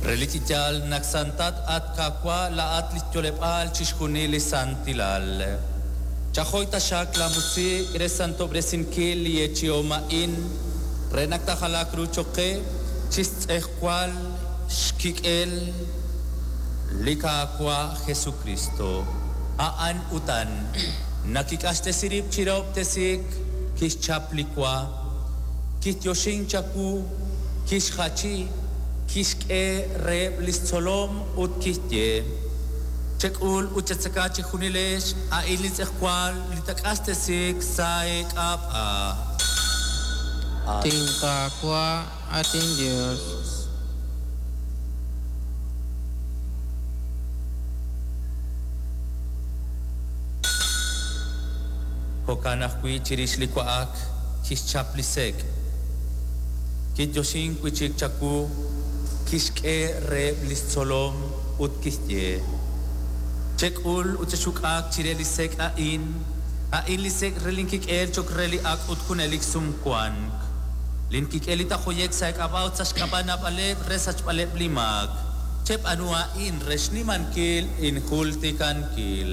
Relik chi yaal naq santat, at Qaawa', laa'at li xyo'leb'aal chixjunil li santilal. Chajoy taxaq laamusiq' re santob'resinkil li yeechi'om a'in, re naq taajalaaq ru cho'q qe chi xtz'ejwal xkik'el li Qaawa' Jesukristo. A'an utan, naq kik'axtesi rib' chi rahob'tesiik, kixchap li wa, kiyoxink chawu, kixjachi, kixk'e reheb' li xtzolom ut kixye: Chek'ul ut chetzeka chejunilex, a'in li tz'ejwal li taak'axtesiik sa' eek'ab'a'. At Qaawa', at inYos. Jo'kan ajwi' chirix li wa'ak kixchap li sek', kiyoxink wi' chik chawu, kixk'e reheb' li xtzolom ut kixye: Chek'ul ut chexuk'aaq chire li sek' a'in, a'in li sek' re linkik'el cho'q re li ak' ut junelik sumwank. Linkik'el li tajoye'k sa' eek'ab'a' ut sa' xk'ab'a' naab'aleb' re sachb'aleb' li maak. Cheb'aanu a'in re xnimankil injultikankil.